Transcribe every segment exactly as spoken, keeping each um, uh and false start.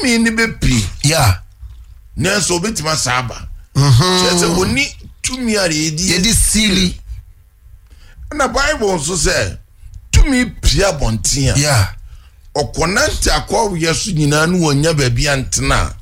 Tumi ne bɛpie. Yeah. Nanso obɛtumi asa aba. Kyerɛ sɛ wɔni tumi a yɛdi yɛde seal. Na Bible nso sɛ tumi pie abɔnten a, Yeah. ɔkɔnante akɔweɛ so nyinaa ne wɔnya baabi antena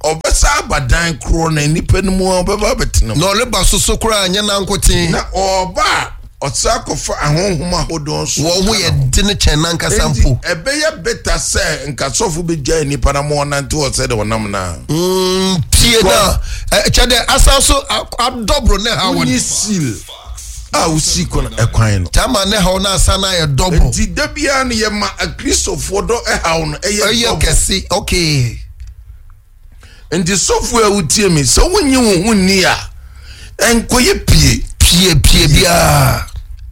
a, ɔbɛsa aba dan korɔ na nnipa no mu a ɔbɛba abɛtena mu. Na ɔreba soso koraa nyɛ nankoten. Na ɔba a, ɔsa akɔfa ahonhom ahodoɔ nso. Wɔn ho yɛ den kyɛn nankasa Enti mpo. ɛbɛyɛ better sɛ nka sɔfo bɛgyae nnipa na ma ɔnante hɔ sɛdeɛ ɔnam no a. Mm, pie na ɛkyɛ dɛ asan so a- adɔboro ne ha Wonni wɔn. seal a wosi kwan ɛkwan no. Tama ne haw na asan ayɛ dɔboro. Nti da biara no yɛma Akristofoɔ dɔ ɛhaw no ɛyɛ Ɛyɛ dɔboro. kɛse, okay. Nti sɔfo a wotie mi, sɛ wonye wo ho nni a, ɛnkɔyɛ pie. Pie pie biara.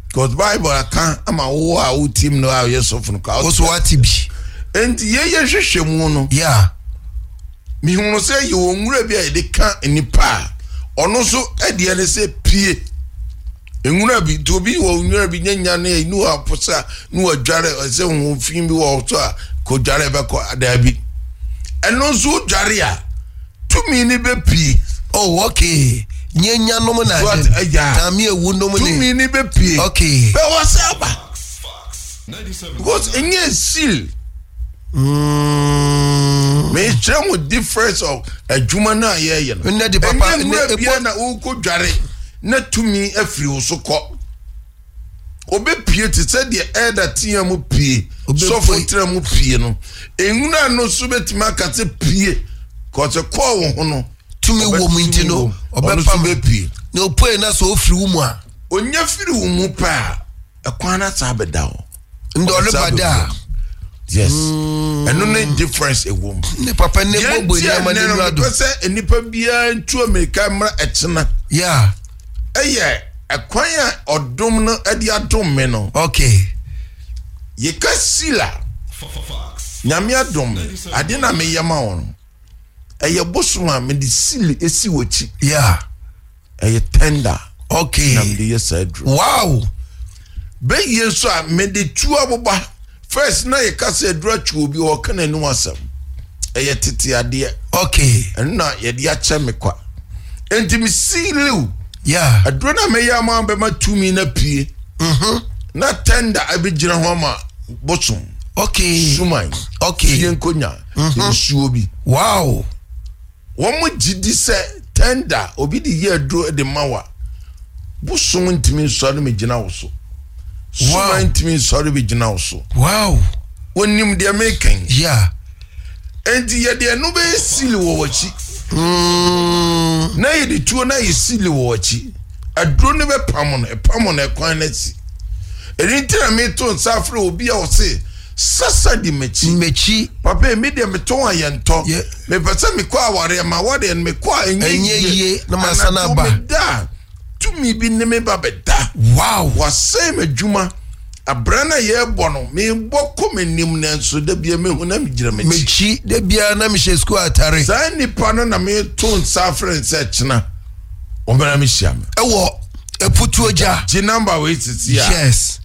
Because Bible aka ama wo a wotie mi no a woyɛ sɔfo no ka. Wo so wate bi. Nti yɛyɛ hwehwɛ mu no, Yeah. mehunu sɛ yɛwɔ nwura bi a yɛde ka nipa a, ɔno nso ɛdeɛ ne sɛ pie. Nwura bi nti, obi wɔ nwura bi nyanya ne ne wɔ aposa ne wɔdware, ɛsɛ ho fi bi wɔ so a, kɔdware bɛkɔ daabi. Ɛno nso wodware a, tumi ne bɛpie. Oh, okay. Nye nyanom na So ade. ate- ɛya. Taame ewu nom ne. Tumi ne bɛpie. Okay. Bɛwɔ sɛ aba because ɛnyɛ seal. Mm. Mekyerɛ mo difference of adwuma no a yɛyɛ no. Nnɛ de papa, Ɛnyɛ nwura nnɛ bia ebo- na wokɔ dware na tumi afiri wo so kɔ. Obɛpie te sɛ deɛ ɛda tea mu pie. Obɛpue. Sɔfo tena mu pie no, nwura no nso bɛtumi aka sɛ pie kɔsɛ kɔɔ wo ho no. Tumi wɔ mu nti no, ɔno nso ɔbɛpam. bɛpie. Na opue na sɛ ofiri wo mu a, Onya firi wo mu pɛ a, ɛkwan no asa abɛda hɔ. Ndɛ ɔreba da a. Yes, ɛno ne difference ɛwɔ mu. Ne papa ne Yɛn bɔbɔ ti a nneɛma nnɛ no n'enyiwa do. mepɛ sɛ nnipa biara ntu amirika mmra ɛkyena. Yeah. Ɛyɛ ɛkwan a ɔdom no ɛde adom me no. Okay. Yɛka seal a, Nyame adom me ade na meyɛ ma wo no, ɛyɛ bosom a mede seal esi w'akyi. Yeah. Ɛyɛ tender Okay. na mede yɛ saa aduro. Wow. Bɛyie nso a mede tu aboba. First na yɛka sɛ aduro atwi obi, ɔka n'anim asɛm, ɛyɛ tete adeɛ. Okay. Ɛno na yɛde akyɛ me kwa, enti me seal wo. Yeah. Aduro no a mɛyɛ ama bɛma tumi na pie Mhm. na tender abɛgyina ho ama bosom, Okay. suman, Okay. fie nkonya, nsuo bi. Wow. Wɔn mo gye di sɛ tender obi de yɛ aduro de ma wa, bosom ntumi nsɔre mi gyina wo so, suman ntumi nsɔre bi gyina wo so. Wow. Wɔnim deɛ mekan. Yeah. Enti yɛde ɛno bɛyɛ seal wɔ w'akyi Mm. na yɛde tuo na yɛ seal wɔ w'akyi. Aduro no bɛpam no, ɛpam no, ɛkwan no akyi. Ɛno nti na meto nsa afrɛ obi a ɔse sasa di m'akyi. M'akyi. Papa yi, mi deɛ metɔn a yɛntɔ. Yeah. Mepɛ sɛ mekɔ awareɛ ma awareɛ no mekɔ a ɛnyɛ Ɛnyɛ yie, na masan Anadwo aba. meda a, tumi bi ne me ba bɛda. Wow. Wasɛe m'adwuma abra no a yɛrebɔ no, mebɔ kɔ m'anim, nanso da bia mehu na megyina m'akyi. M'akyi da biara na mehyɛ sukuu atare. Saa nnipa no na meto nsa afrɛ no sɛ kyena ɔmmra mehyia me. Ɛwɔ Eputuo Gya. Gye number wei sisi a. Yes.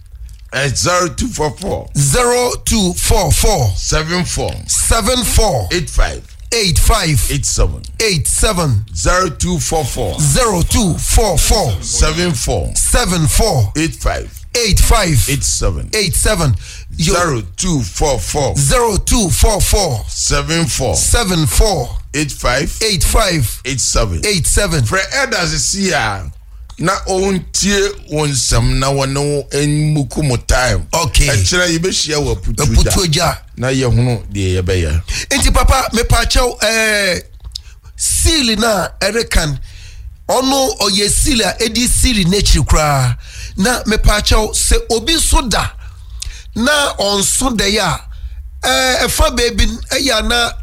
zero two four four Zero two four four seven four seven four eight five eight five eight seven eight seven. zero two four four Zero two four four seven four seven four eight five eight five eight seven. eight seven. Yo, zero two four four zero two four four seven four seven four eight five eight five eight seven. eight seven. Frɛ elders si a na ɔntie wo nsɛm na wɔne wo mmuku mo time. Okay. Ɛkyerɛ yɛbɛhyia wɔ Aputuo Aputuo Gya Gya. na yɛhunu deɛ yɛbɛyɛ. Nti papa, mepaakyɛw, ɛɛ seal na ɛrekan ɔno ɔyɛ seal a ɛdi seal n'akyiri koraa. Na mepaakyɛw, sɛ obi nso da na ɔnso dɛyɛ a, ɛɛ ɛfa beebi ɛyɛ ana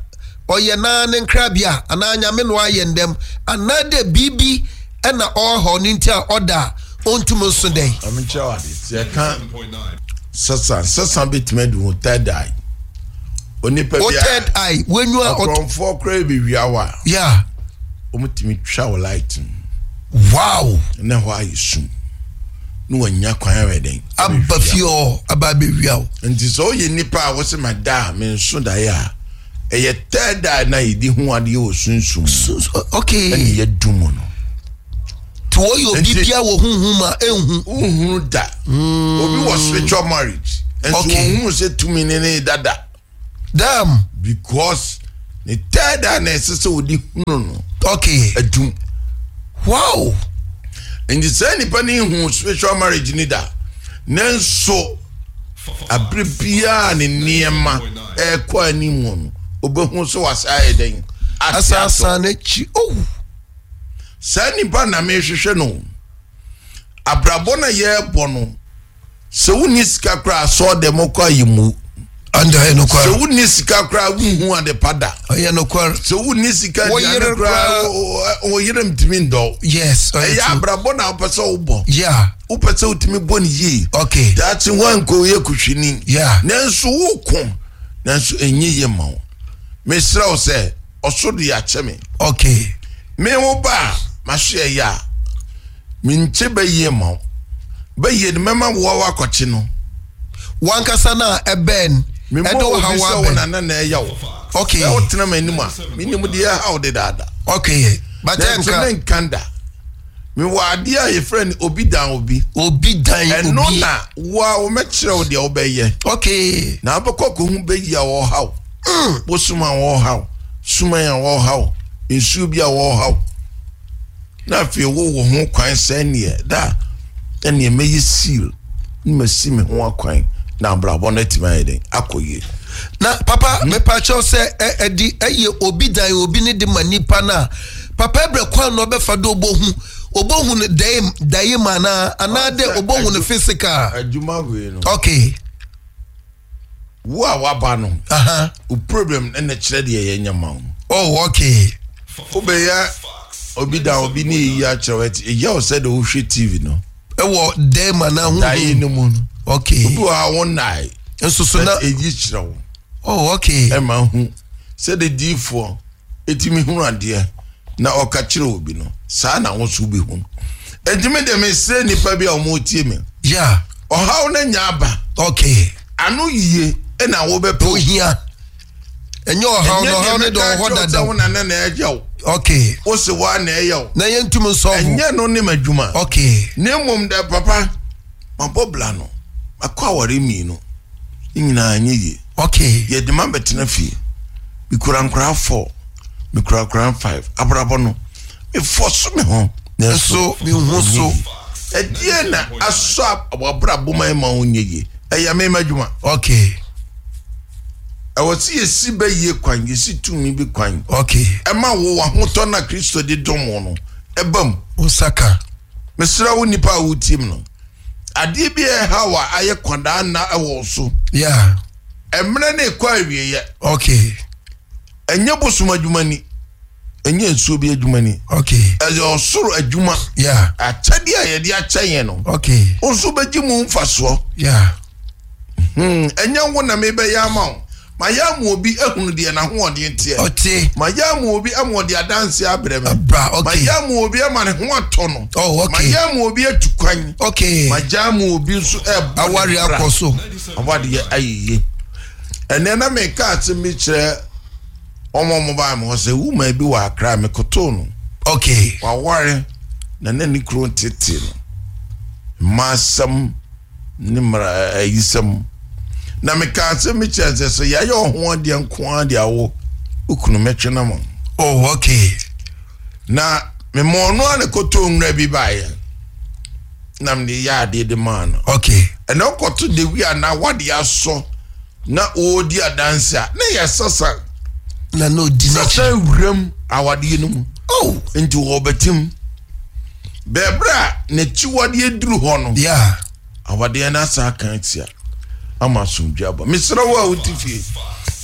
ɔyɛ naa ne nkrabea anaa Nyame no ayɛ ndɛm anaa dɛ biribi ɛna ɔrehaw ne nti a ɔda a ɔntum nso dɛn? Ɔmekyerɛ wo ade, sɛ yɛka sesa sesa bɛtumi adi wo third eye, onipa O bi third eye wenua ɔt akorɔmfoɔ koraa bɛwia wo a, yeah wɔmtumi twa wo light mu wow na hɔ ayɛ sum na wanya kwan ayɛ dɛn? Aba fie hɔ aba abɛwia wo. Nti sɛ woyɛ nipa a wosɛ ma da a menso daeɛ a, Ɛyɛ third eye na yɛde hu adeɛ wɔ sunsum mu. So, okay. Ɛne yɛdum no. Nti wɔyɛ obi Nti- bia wɔ huhum a ɛnhu. Wohunu da. Obi wɔ spiritual marriage nso Okay. wɔhunu sɛ tumi ne ne dada. Damn. Because ne third eye na ɛsɛ sɛ wɔde hunu no Okay. adum. Wow. Nti saa nipa ne hu spiritual marriage ni da, nanso abere biara ne nneɛma ɛrekɔ anim no, obɛhu sɛ wasa ayɛ dɛn ate atɔ. Asasa n'akyi. Oh. Saa nipa na mehwehwɛ no, abrabɔ na yɛrebɔ no, sɛ wonni sika koraa, asɔɔ dɛm kɔ ayi mu. Anda ɛyɛ Sɛ nokware. wonni sika koraa, wonhu ade pa da. Ɔyɛ nokware. Sɛ wonni sika Wo yere aduane koraa, koraa- wo- wo yere ntumi ndɔ. Yes. Ɔyɛ Ɛyɛ true. abrabɔ na wopɛ sɛ wobɔ. Yeah. Wopɛ sɛ wotumi bɔ ne yie. Okay. Daakye woankɔ yɛ kuhwini. Yeah. Nanso woko nanso ɛnyɛ yie ma wo. Mesrɛ wo sɛ ɔso de akyɛ me. Okay. Me wo ba a mahwe ɛyɛ a menkye bɛyie ma wo, bɛyie no mɛma woa woakɔkye no. Wankasa na ɛbɛn. Memmɔ Ɛde wo obi ha sɛ wo wa bɛn. nana na ɛyɛ wo. Okay. Sɛ wotena m'anim a, menim deɛ ɛha wo dedaada. Okay. But Nanso ɛnka. menka da, mewɔ adeɛ a yɛfrɛ no obi dan obi. Obi dan Ɛno obi. na woa womɛkyerɛ wo deɛ wobɛyɛ. Okay. Na wobɛkɔ kɔhu bɛyi a wɔhaw, bosom a wɔhaw, suman a wɔhaw, nsuo bi a wɔhaw, na afei wowɔ ho kwan sɛ neɛ da ɛneɛ mɛyɛ seal ne masi me ho akwan na abrabɔ no atumi ayɛ den akɔ yie. Na papa, mepakyɛw, sɛ ɛ ɛdi ɛyɛ obi dan obi ne de ma nipa na papa, ɛbrɛ kwan na ɔbɛfa do obohu obohu no dae dae mu anaa anaa dɛ obohu no physical? Adwuma wei no, Okay. wo a waba no, Aha. wo problem ɛna kyerɛ deɛ yɛnyɛ ma wo. Oh, okay. Wobɛyɛ obi dan obi ne yɛyi akyerɛ wo, ɛti ɛyɛ wo sɛ de wohwɛ T V no. Ɛwɔ dae mu anaa huhu? Dae no mu no. Okay. Obi wɔ ha, wo nnae. Nso so na ɛyi kyerɛ wo. Oh, okay. Ɛma hu sɛde diifoɔ ɛtumi hunu adeɛ na ɔka kyerɛ obi no, saa na wo nso wobɛhu. Ɛntumi de mesrɛ nnipa bi a ɔmotie me. Yeah. Ɔhaw no nya aba. Okay. Ano yie ɛna wobɛpɛ. Ohia. Ɛnyɛ ɔhaw no, ɔhaw no de ɔwɔ hɔ sɛ dada. wo nana na ɛyɛ wo. Okay. Wo se woa na ɛyɛ wo. Na yɛntum nsɔfo. Ɛnyɛ no ne m'adwuma. Okay. Na mmom dɛ papa, mabɔ bla no, makɔ aware mmienu ne nyinaa nyɛ yie. Okay. Yɛde ma bɛtena fie, mekura nkoraa four, mekura nkoraa five, abrabɔ no mefɔ so me ho. Nso mehu so. Ɛdeɛ na asɔ wabrabɔ ma ma wo nyɛ yie, ɛyɛ me m'adwuma. Okay. Ɛwɔ sɛ yɛsi bɛyie kwan, yɛsi tumi bi kwan. Okay. Ɛma wo wahotɔ na Kristo de dɔm wo no ɛba mu. Osaka. Mesrɛ wo, nipa a wotie mu no, adeɛ bi a ɛha wo a ayɛ kwadaa nna ɛwɔ wo so. Yeah. Ɛmmerɛ ne ɛkɔ awieɛ. Okay. Ɛnyɛ bosom adwuma ni, ɛnyɛ nsuo bi adwuma ni. Okay. Ɛyɛ ɔsoro adwuma. Yeah. Akyɛdeɛ a yɛde akyɛ yɛn no, Okay. wo nso bɛgye mu mfasoɔ. Yeah. Hmm, ɛnyɛ wo na mebɛyɛ ama wo, mayɛ ama obi ahunu deɛ n'ahoɔden teɛ. Ɔte. Mayɛ ama obi ama ɔde adanse abrɛ me. Abra. Okay. Mayɛ ama obi ama ne ho atɔ no. Oh, okay. Mayɛ ama obi atu kwan. Okay. Magya ama obi nso ɛbɔ ne Awari bra. akɔ so. Awadeɛ ayɛ yie. Ɛnɛ na meka asɛm bi kyerɛ ɔmo a ɔmo baa me hɔ sɛ wuma bi wɔ Akra, mekotoo no. Okay. Waware na na ne kuro tete no, mmaa asɛm ne mmara ayisɛm, na meka asɛm bi kyerɛ sɛ sɛ yɛayɛ ɔho adeɛ nko ara de awo okunu mɛtwe na ma. Oh, okay. Na mema ɔno a ne kɔtɔ nwura bi baeɛ na mede yɛ adeɛ de maa no. Okay. Ɛna ɔkɔto dewi a na wade asɔ na ɔredi adanse a na yɛ sasa. Na na odi n'akyi. Sasa wuram awadeɛ no mu. Oh. Nti wɔbɛtim bɛɛberɛ a n'akyiwadeɛ duru hɔ no, Yeah. awadeɛ no asa aka atia ama asomdwe aba. Mesrɛ wo a wote fie,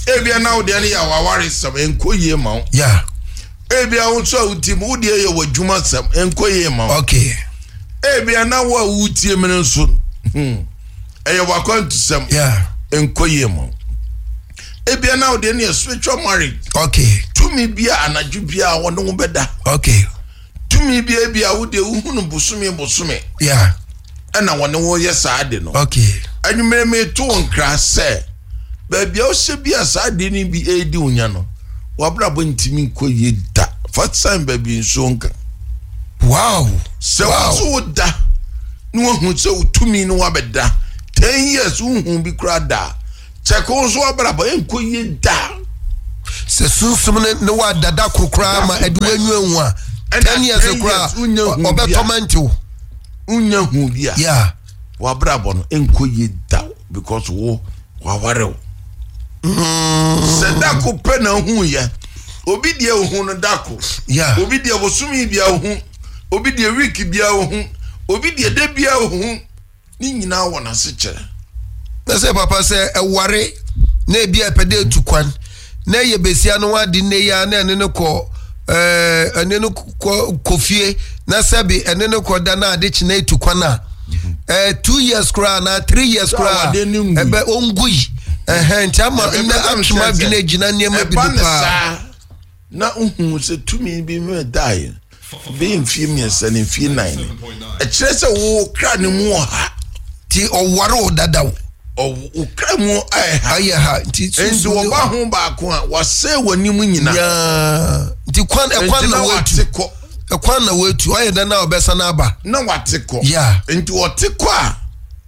ebia na wodeɛ no yɛ awaware sɛm, ɛnkɔ yie ma wo. Yeah. Ebia wo nso a wotie mu, wodeɛ yɛ w'adwuma sɛm, ɛnkɔ yie ma wo. Okay. Ebia na wo a wotie mu no nso, hmm, ɛyɛ w'akwantusɛm, Yeah. ɛnkɔ yie ma wo. Ebia na wodeɛ no yɛ spiritual marriage. Okay. Tumi bi a anadwo bi a wɔne wo bɛda. Okay. Tumi bi a bi a wodeɛ wohunu bosome bosome Yeah. ɛna wɔne wo yɛ saa de no. Okay. Anwummerɛ meto wo nkra sɛ Baabi a wohyɛ bi a saa adeɛ no bi ɛredi wo nya no, wabrabɔ ntumi nkɔ yie da. Fa sign baabi nsuo nka. Wow. Sɛ Wow. wo so wo da na wahu sɛ wo tumi no wabɛda ten years wohu bi koraa da, kyɛke wo nso wabrabɔ ɛnkɔ yie da. Sɛ sunsum ne ne wa dada koro koraa ma ɛde w'anyu ehu a, Ɛna ten years ten koraa years wonya hu bi a. ɔbɛtɔ mɛntew. Wonya hu bi a, Yeah. wabrabɔ no ɛnkɔ yie da because wo waware wo. Sɛ dako pɛ na ohu yɛ, obi deɛ ohu no dako, Yeah. obi deɛ bosome bia ohu, obi deɛ week bia ohu, obi deɛ da bia ohu, ne nyinaa wɔ n'ase kyerɛ. Na sɛ papa sɛ ɛware na ebi a ɛpɛ dɛ etu kwan na ɛyɛ besia no wade nne yi a na ɛne no kɔ ɛɛ ɛne no kɔ kɔ fie na sɛbi ɛne no kɔ da na ade kyena etu kwan a, ɛɛ two years koraa na three years Sɛ koraa awadeɛ no ngui. ɛbɛ ongui ɛhɛn, nti ama Ɛbɛba nnɛ sɛ atwema sɛ adwene gyina nneɛma bi ɛba do ne paa. saa na wohu sɛ tumi bi mu daeɛ bɛyɛ mfie mmiɛnsa ne mfie nan no, ɛkyerɛ sɛ wo kra ne mu wɔ ha. Nti ɔware wo dadaw. Ɔw- wo kra mu ayɛ ha. Ayɛ ha nti nti sunsum ne- wɔba ho baako a wasɛe w'anim nyinaa. Nyaa nti kwan ɛkwan nti na na watu wate kɔ. Ɛkwan na watu ɔyɛ dɛ na ɔbɛsa n'aba. Na wate kɔ. Yeah. Nti ɔte kɔ a,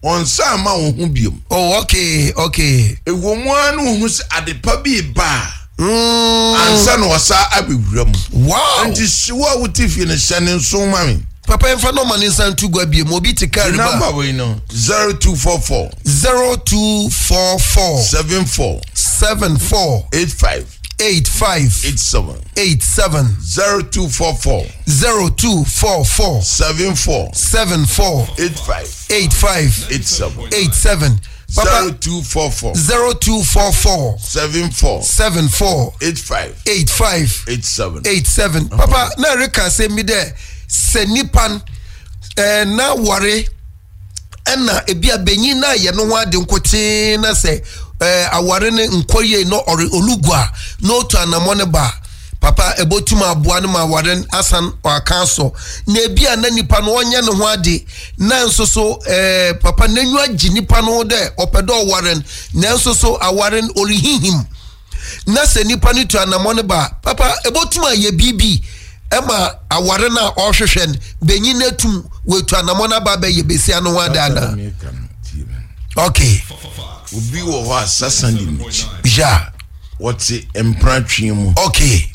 ɔnsa ama wo ho biom. Oh, okay okay ɛwɔ mu ara ne wohu sɛ adepa bi ba a, Mm. ansa na ɔsa abɛwura mu. Wow. Nti hyewo a wote fie no, hyɛ ne nso ma me. Papa, yɛmfa nɔma ne nsa nto gua biem, obi te kaa The riba. number wei no, zero two four four zero two four four seven four seven four eight five eight five eight seven eight seven zero two four four zero two four four seven four seven four eight five eight five eight seven eight seven. Papa, zero two four four zero two four four seven four seven four eight five eight five eight seven. eight seven. Papa, na reka asɛm bi dɛ sɛ nipa n- ɛɛ na ware ɛna ebi a benyin na yɛ no ho ade nkotee na sɛ ɛɛ aware ne nkɔ yie na ɔre olugu a na otu anamɔ ne ba, papa, ebotum aboa no ma aware no asan ɔaka so, na ebi a na nipa no ɔnyɛ ne ho ade na nso so ɛɛ papa n'enyiwa gye nipa no ho dɛ ɔpɛ dɛ ɔware no, nanso so aware no ɔrehihim, na sɛ nipa no tu anamɔ no ba, papa, ebotum ayɛ biribi ɛma aware no a ɔrehwehwɛ no, benyin no atum wetu anamɔ no aba abɛyɛ besia no ho adaada? Okay. Obi wɔ hɔ a sasa di n'akyi. Ya. Wɔte mpratwe mu okay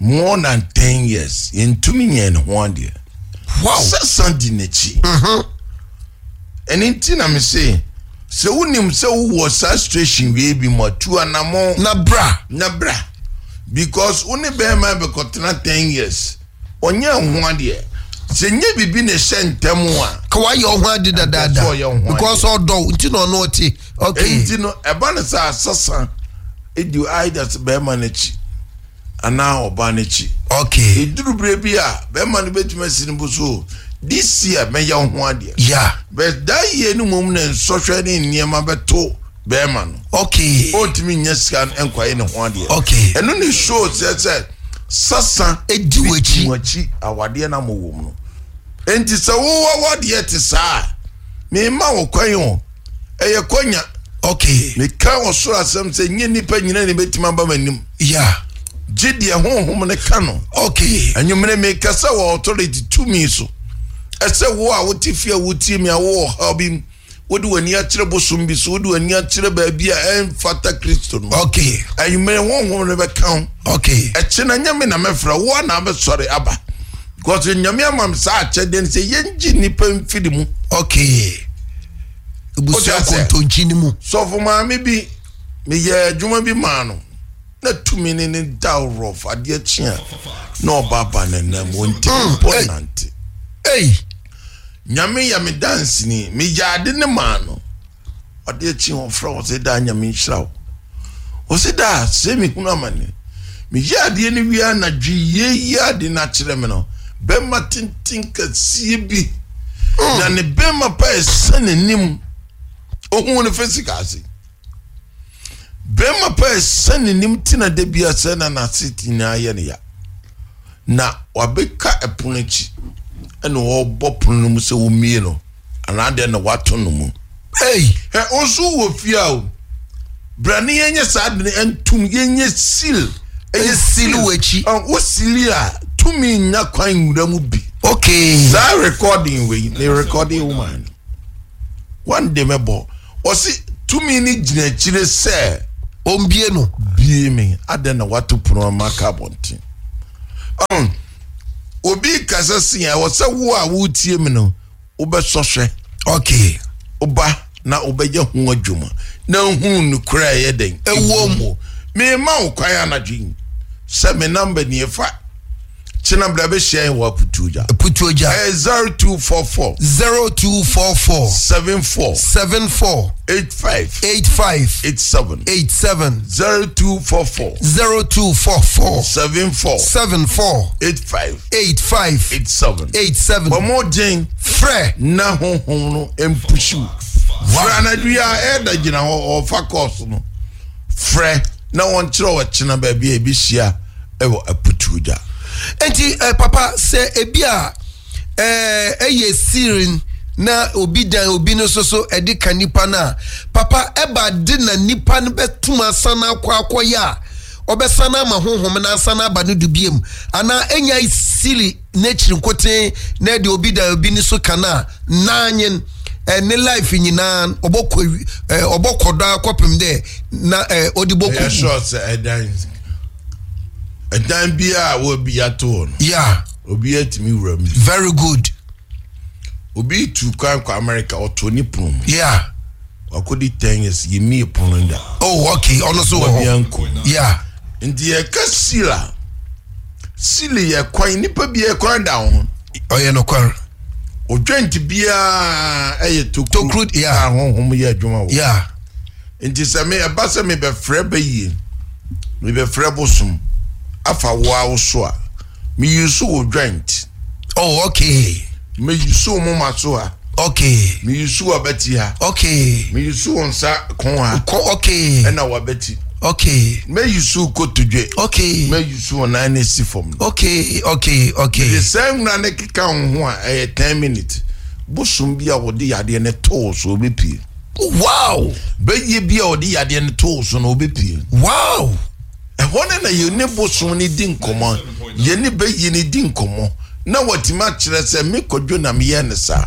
more than ten years, yɛntumi nyɛ ne ho adeɛ. Wow sasa di n'akyi. Ɛne nti na me se sɛ wonim sɛ wowɔ saa situation wei bi mu a, tu anammɔ na bra. Na bra, because wo ne bɛrima bɛkɔtena ten years, ɔnyɛ ho adeɛ, sɛ nyɛ biribi na ɛhyɛ ntɛm a, ka wayɛ ɔho ade dadaada. Sɛ ɔyɛ wo ho ade. Because ɔdɔ nti na ɔno ɔte, okay. Nti no ɛba no sɛ asasa ɛdi either sɛ bɛrima n'akyi anaa ɔbaa n'akyi. Okay ɛduru berɛ bi a, bɛrima no bɛtumi asi no bo so, this year mɛyɛ wo ho adeɛ, ya but that year no mmom na nsɔhwɛ ne nneɛma bɛto bɛrima no, okay ɔntumi nyɛ sika no nkɔyɛ ne ho adeɛ. Okay. Ɛno ne show sɛ sɛ sasa Edi w'akyi. Di w'akyi awadeɛ no ama wɔ mu no. Enti sɛ wowɔ wadeɛ te saa a, mema wo kwan o, ɛyɛ kwanya. Okay meka wɔ soro asɛm sɛ nyɛ nnipa nyina ne bɛtumi aba m'anim, ya gye deɛ honhom ne ka no. Okay anwummere mekasa wɔ authority tumi so, ɛsɛ wo a wote fie a wotie mi a wowɔ ɔhaw bi mu, wode w'ani akyerɛ bosom bi so, wode w'ani akyerɛ baabi a ɛmfata Kristo no, okay anwummere honhom no bɛka ho. Okay ɛkye na nyame na mɛfrɛ wo a na abɛsɔre aba, because Nyame ama me saa akyɛdeɛ no sɛ yɛngye nnipa mfiri mu. Okay, ebusua Wote aseɛ? kontonkyi ni mu. Sɔfo maame bi, meyɛ adwuma bi maa no na tumi ne ne da rough, adeɛ kye a na ɔba ba n'anam, ɔntumi mpo hey. nante. Ei. Nyame yɛ me danseni, meyɛ ade ne maa no, ɔde akyi ɔfrɛ wɔ sɛ daa Nyame nhyira wo, ɔsɛ daa sɛ mehunu amane, meyɛ adeɛ no wie anadwo yie yi, ade no akyerɛ me no, bɛrima tenten kɛseɛ bi na ne bɛrima pa ɛsɛ n'anim, ohun no physical ase, bɛrima pa ɛsɛ n'anim tina da bi asɛ na n'ase nyinaa yɛ ne ya, na wabɛka ɛpono akyi ɛna ɔrebɔ pono no mu sɛ wɔmmie no anaa deɛ na wato no mu. Ei. Ɛ nso wɔ fie a o Bra ne yɛnyɛ saa de no ntom, yɛnyɛ seal. Ɛyɛ seal wɔ akyi. Wo seal a, tumi nya kwan nwura mu bi. Okay. Saa recording wei, ne recording woman. One day mɛbɔ. Ɔsi tumi ni gyina akyire sɛ. Ombie no. Bie me. Adɛn na wato pono ama ka abɔnten. Um, obi kasa si a, ɛwɔ sɛ wo a wotie me no, wobɛsɔ hwɛ. Okay. Woba na wobɛyɛ ho adwuma. Na nhunu nokorɛ a ɛyɛ dɛn. Ɛwɔ mu. Mema wo kwan anadwo yi sɛ me number nie fa. Kyena bra bɛhyia yɛn wɔ Aputuogya. Aputuogya. Ɛyɛ zero two four four. zero two four four. seven four. seven four. eight five. eight five. eight seven. eight seven. zero two four four. zero two four four. seven four. seven four. eight five. eight five. eight seven. eight seven. Bɔmɔden. Frɛ. Na honhom no mpusu. Frɛ anadwo yi a ɛda gyina hɔ ɔfa kɔɔso no. Frɛ na wɔnkyerɛ wɔ kyena baabi a ebi hyia ɛwɔ Aputuogya. Enti eh, papa sɛ ebi a eh, ɛyɛ sirin na obi dan obi no so so ɛde ka nipa no a, papa ɛba de na nipa no bɛtum asan akɔ akɔyɛ a ɔbɛsan ama honhom no asan aba no do biem anaa ɛnya siri n'akyiri nkoten na ɛde obi dan obi no so ka no a nanyen ne life nyinaa ɔbɔkɔ ɔbɔkɔ do akɔpem dɛ na ɔde bɔkɔ. Ɛyɛ sure sɛ ɛdan ɛdan bi a wɔbi ato hɔ no. Yeah. Obi atumi wura mu. Very good. Obi tu kwan kɔ America ɔto ne pono mu. Yeah. Wakɔdi ten years yɛ mi pono da. Oh okay, ɔno so wɔ hɔ. Yeah. Nti yɛka seal a, seal yɛ kwan nipa bi yɛ kwan da ho. Ɔyɛ nokware. Odwent biara ɛyɛ tokuro. Tokuro, yeah. A honhom yɛ adwuma wɔ. Yeah. Nti sɛ me ɛba sɛ mebɛfrɛ bɛyie, mebɛfrɛ bosom afa wo a wo so a, me use wo joint. Oh okay. Me use wo moma so a. Okay. Me use wo abati ha. Okay. Me use wo nsa kon ha. Ko okay. Ɛna wabati. Okay. Me use wo kotodwe. Okay. Me use wo nan ne si fam. Okay, okay, okay. The same na ne keka ho a ɛyɛ ten minutes. Bosom bi a wɔde yadeɛ ne too so obepie. Wow. Bɛyɛ bi a wɔde yadeɛ ne too so na obepie. Wow. Ɛhɔ ne na yɛ ne bosom ne di nkɔmɔ. Yɛ ne bɛyɛ ne di nkɔmɔ. Na wɔtumi akyerɛ sɛ me kɔdwo na meyɛ ne saa.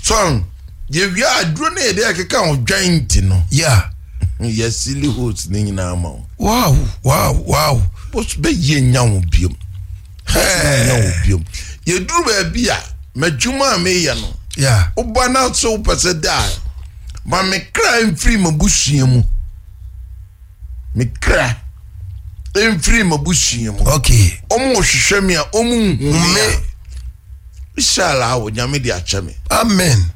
So yɛwia aduro ne yɛde akeka ho dwan no. Yeah. Yɛ silly host ne nyinaa ma wo. Wow, wow, wow. Bos bɛyɛ nya wo biom. Hey. Nya wo biom. Yɛduru baabi a madwuma a meyɛ no. Yeah. Woba na so wopɛ sɛ da. Ma me kra mfiri m'abusua mu. Me kra mfiri m'abusua mu. Okay. Ɔmo hwehwɛ me a ɔmo nhu me. Inshallah wo Nyame de akyɛ me. Amen.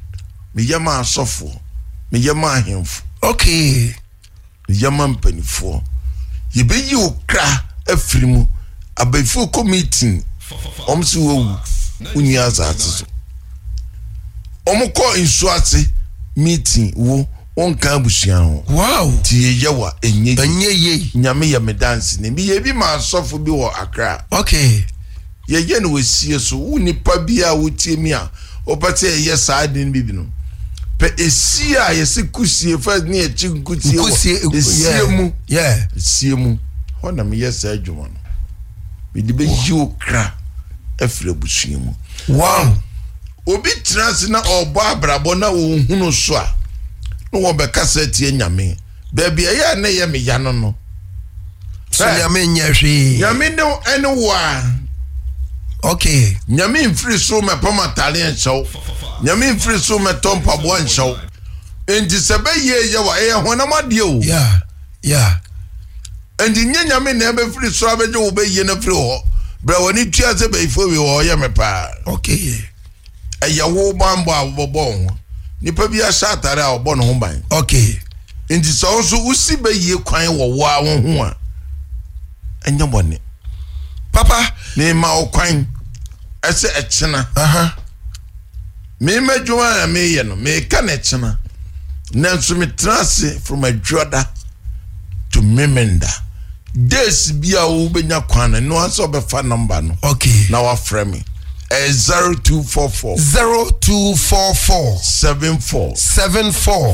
Meyɛ ma asɔfoɔ. Meyɛ ma ahemfo. Okay. Meyɛ ma mpanimfoɔ. Yɛbɛyi wo kra afiri mu. Abɛɛfo kɔ meeting. Ɔmo si wɔwu. Wonni asase so. Ɔmo kɔ nsuo ase meeting wo wɔnka abusua ho. Wow. Ti yɛ wa enye. Enye ye. Nyame yɛ me dance ne. Meyɛ bi ma asɔfo bi wɔ Accra. Okay. Yɛyɛ no wɔsie so. Wo nipa bi a wotie mi a wopɛ sɛ yɛyɛ saa de no bi no. Pɛ esie a yɛsi kusie first ne yɛkyi nkusie wɔ esie mu. Yeah. Esie mu. Hɔ na meyɛ saa adwuma no. Mede bɛyi wo kra afiri abusua mu. Wow. Obi tena ase na ɔbɔ abrabɔ na ɔnhunu so a na wɔbɛkasa tie Nyame. Baabi a ɛyɛ a na ɛyɛ me ya no no. So Nyame nyɛ hwee. Nyame ne ɛne wo a. Okay. Nyame mfiri so mɛpam atare nhyɛw. Nyame mfiri so mɛtɔ mpaboa nhyɛw. Enti sɛ bɛyɛ yɛ wa ɛyɛ honam adeɛ o. Yeah. Yeah. Enti nye Nyame na ɛbɛfiri so abɛgye wo bɛyie no firi hɔ. Brɛ w'ani tua sɛ bɛyifo wi wɔ ɔyɛ me paa. Okay. Ɛyɛ wo bambɔ a wobɛbɔ wo ho. Nipa bi ahyɛ atare a ɔbɔ ne ho ban. Okay. Enti sɛ wo nso wosi bɛyie kwan wɔ wo a wo ho a ɛnyɛ bɔne. Papa. Mema wo kwan ɛsɛ ɛkyena. Aha. Mema adwuma a meyɛ no meka ne kyena. Nanso metena ase from adwoda to memenda. Days bi a wobɛnya kwan no no asɛ wobɛfa number no. Okay. Na wafrɛ me. zero two four four zero two four four seven four seven four